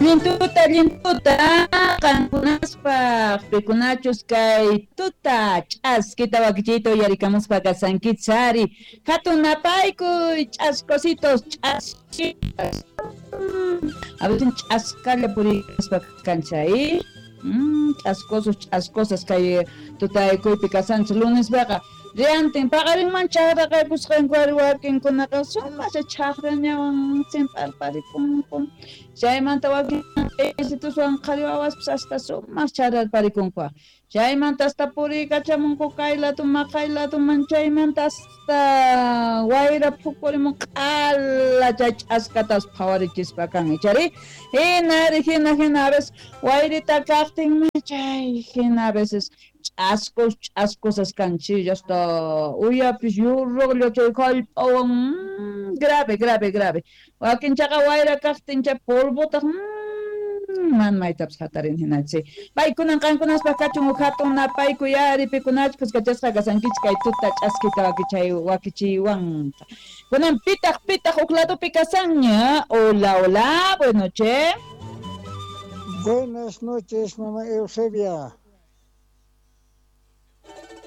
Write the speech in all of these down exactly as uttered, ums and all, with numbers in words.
Allintuta, allintuta, qankunaspaq pikunachus kay tuta ch'askita wakichiyta uyarikamuspa kasankichari. Hatun napaykuy ch'askositos, ch'askitas. A veces ch'askalla purikuspa kanchay. Mm, ch'askosos, ch'askosas kay tutaykuypi kasanchis lunespiqa. Riantin paqarinman chaqraqaykusqanku ari wakinkunaqa sumasha chaqrañawan simp'arparikunku. Chaymanta wakin isituswan qhari wawaspis hasta sumaq chararparikunku. Chaymanta hasta puriykachamunku kay laduman kay laduman chaymanta hasta wayra phukurimun q'ala chay ch'askatas phawarichispa kan ichari. Hina ari hina hina a veces wayrita kaqtinmi chay hina a veces ch'askos ch'askosas kanchis hasta uyapis yurruqlla chay hallp'awan mm, grave grave grave. Wakinchaqa wayra kaqtin chay polvotaq mm, man maytapas hatarin hinachi. Paykunan qankunaspaq kachun huk hatun napaykuy ari pikunachus kuskachasqa kasankichik kay tuta ch'askita wakichay wakichiywanqa. Kunan pitaq pitaq huk ladopi kasanña. Hola, hola, buenas noches. Buenas noches, mamá Eusebia.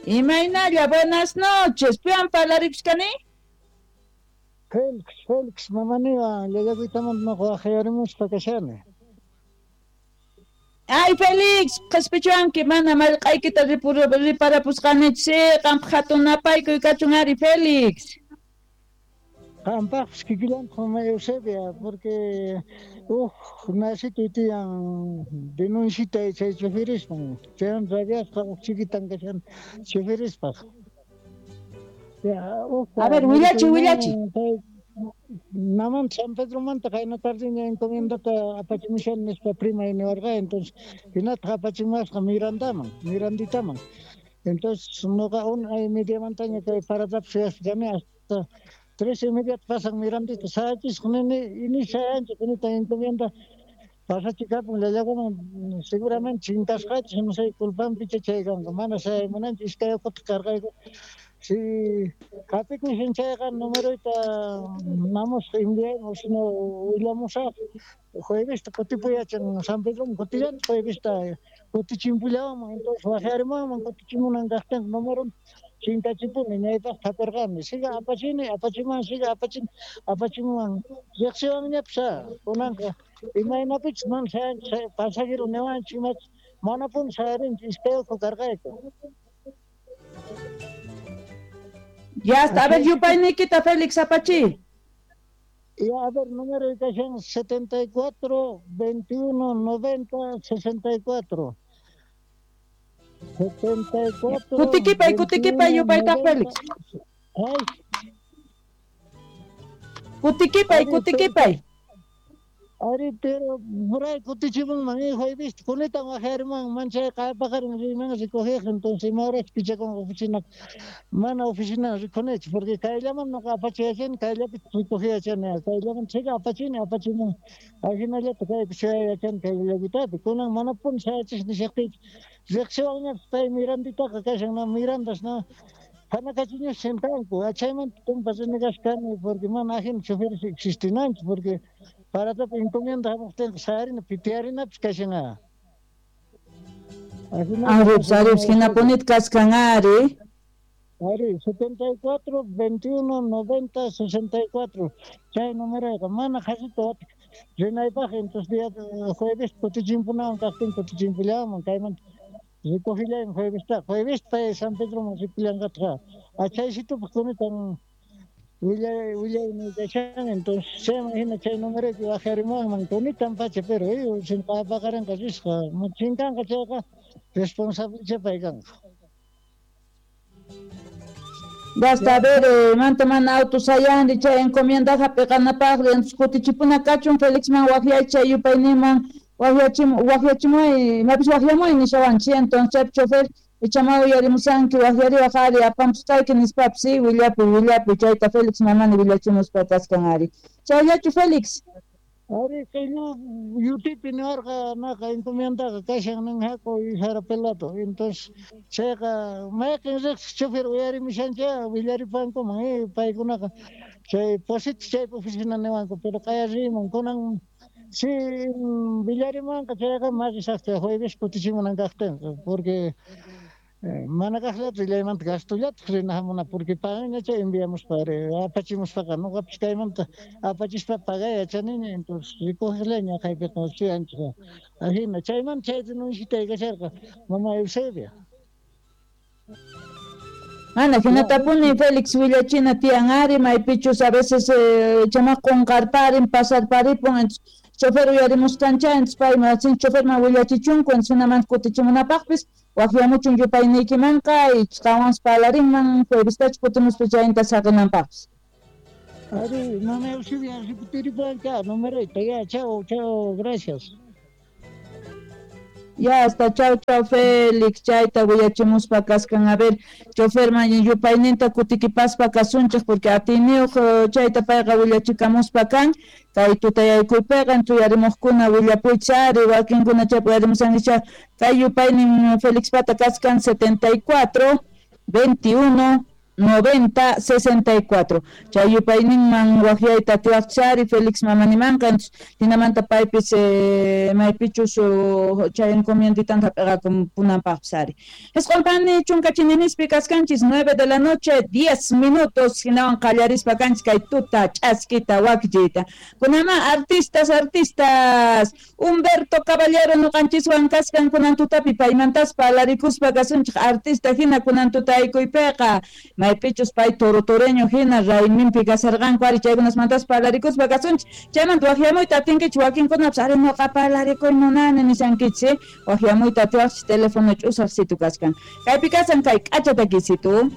Imaynalla, buenas noches. Piwan parlarikushkani? Félix, Félix, mamaniwan, llallakuytamanta noqa waqayarimuspa kashani. Ay, Félix, qhispichuwanki mana mallq'aykita riparapusqanichu, qampaq hatun napaykuy kachun ari, Félix. Qampaqpis kikillantaq mamá Eusebia, porque uj nasituy tiyan denuncita chay choferisman, chaywan rabiasqa uj chiquitan kashan choferispaq. Ya, uj A ver, willachi, willachi. Naman San Pedromanta qayna tardeña encomiendata apachimushan nispa prima niwarqa, entonces hinataq apachimuwasqa Mirandaman, Miranditaman. Entonces noqa una y mediamantaña kay paradapi suyaspa kani hasta tres y media pasan Mirandita sayachisqa nini ini sayanchik kunita encomienda pasachikapun llallakuman seguramente chinkasqachis no sé culpanpicha chay kanqa mana sayaymunanchik iskay uquta cargayku. Si hap'ikushan chayqa numeroyta namusqa enviayman sino willamusaq juevesta kutipuyachan San Pedroman kutillanchik juevesta kutichimpullawanman entonces waqyarimuwanman kutichimunan kaqtinqa numeron chinkachipuni ñaypaq hap'irqani siga apachini apachimuwan siga apachini apachimuwan riqsiwanñapis kunanqa imaynapichus mana sayanchik pasajero niwanchik imachus manapuni sayarinchik iskay ukhu karqayku. Ya está, a ver, yupayniykita Félix apachi. Ya, a ver, número de kashan setenta y cuatro, veintiuno, noventa, sesenta y cuatro. setenta y cuatro, Kutikipay, kutikipay, yupayta Félix. Ay. Kutikipay, kutikipay. Ari, pero por ahí kutichimunman, hijo, he visto, kunitan wajariman, manchay qaypaqarin riman recoger, entonces ima horas pichakun oficina, mana oficina rikunich, porque kayllaman noqa apachiyachani, kayllapi recogiyachani, kayllaman chayqa apachini, apachimun, ajinallata kaypi shayachani kayllakitapi, kunan manapuni shayachis nishaqtiyki, riqsiwanñapis pay Miranditaqa kashan, na Mirandas, na Hanakachiñas sentanku, achaymanta tumpa renegasqani, porque mana ajina choferes existinanchu, porque paratapi encomienda hamuqtinqa sayarina pitiyarinapis kashan. Aripis, aripis, hinapunita kaskan ari. Ari, setenta y cuatro, veintiuno, noventa, sesenta y cuatro. Chay numeroyqa mana qhasita watik rinaypaq, entonces día jueves kutichimpunawan kaqtin kutichimpullawanman kaymanta recogillayman juevesta. Jueves pay San Pedroman ripullanqataq. Achaysitupaq kunitan willay willaymi kashan, entonces chayman hina chay numeroypi waqyarimuwanman kunitan pacha, pero eh, sin paqarinqa risqa, chinkanqa chayqa responsable pay kanqa. Basta, a ver, eh, manta mana auto sayanri chay encomienda hap'iqanapaqri, entonces kutichipuna kachun Felixman waqyay chay yupayninman waqyachim waqyachimuy imapis waqyamuy nishawanchik, entonces chaypi chofer ichama uyarimusanki waqyariwaq ari apamusqayki nispapis, sí, willapuy willapuy chayta Félix mamani willachimuspa kaskan ari. Chayllachu Félix? Ari qillu yutipi niwarqa naqa encomiendaqa kashan nin haku Jara Pelato, entonces chayqa mayqin riqsiq chofer uyarimushancha willaripankuman eh, paykunaqa chay Posito chaypi oficina niwanku, pero qaya riyman kunan Sí, Villarimanqa chayqa maqisaqta jueves kutichimunan kaqtinqa, porque mana kaqllata rillaymanta gastollataq rina hamuna, porque paganña chay enviamuspa apachimuspaqa noqapis kaymanta apachispa pagay yachaniña, entonces rikuqllaña kaypiqa suyanchik. Ajina chaymanta chay denunciata kasharqa mama Eusebia. Ana, hinatapuni Félix willachina tiyan ari, maypichus a veces eh, chamaq qunqarparin pasarparipun, chofer uyarimusqancha, entonces payman choferman willachichunku, entonces hinamanta kutichimunapaqpis waqyamuchun yupayniykimanqa y qanwanpas parlarinman juevestach kutimuspa chayta saqinanpaqpis. Ari, mama Eusebia, repetiripanka numeroyta, ya, chao, chao, gracias. Ya hasta chau chau Félix, chayta willachimuspa kaskan. A ver, choferman yupayninta kutikipaspa kasunchik porque atiniyuq chayta payqa willachikamuspa kan kay tutayaykuypiqa tuyarimuqkuna willapuychari wakinkuna chaypi uyarimusankicha kay yupaynin Félix pata kaskan setenta y cuatro, veintiuno, noventa, sesenta y cuatro. Chay yupayninman waqyayta atiwaqchari Félix mamanimanqa, hinamanta paypis eh, maypichus chay encomienditanta hap'iqakunanpaqpis ari. Isqunpani chunka chininispi kaskanchis nueve de la noche, diez minutos, hinawan qallarispa kanchis kay tuta ch'askita wakichiyta. Kunama artistas, artistas, Humberto Caballero nuqanchiswan kaskan kunan tutapi paymantas parlarikuspa kasunchik artista hina kunan tutaykuypiqa. Maypichus pay torotoreño hina rayminpi kasarqanku ari chaykunasmantas parlarikuspa kasunchik. Chaymanta waqyamuyta atinkichik wakinkunapas ari nuqa parlarikuy munani nishankichik, waqyamuyta atiwaqchik teléfono ch'usaq situ kaskan. Kaypi kasan kay k'acha takisitu.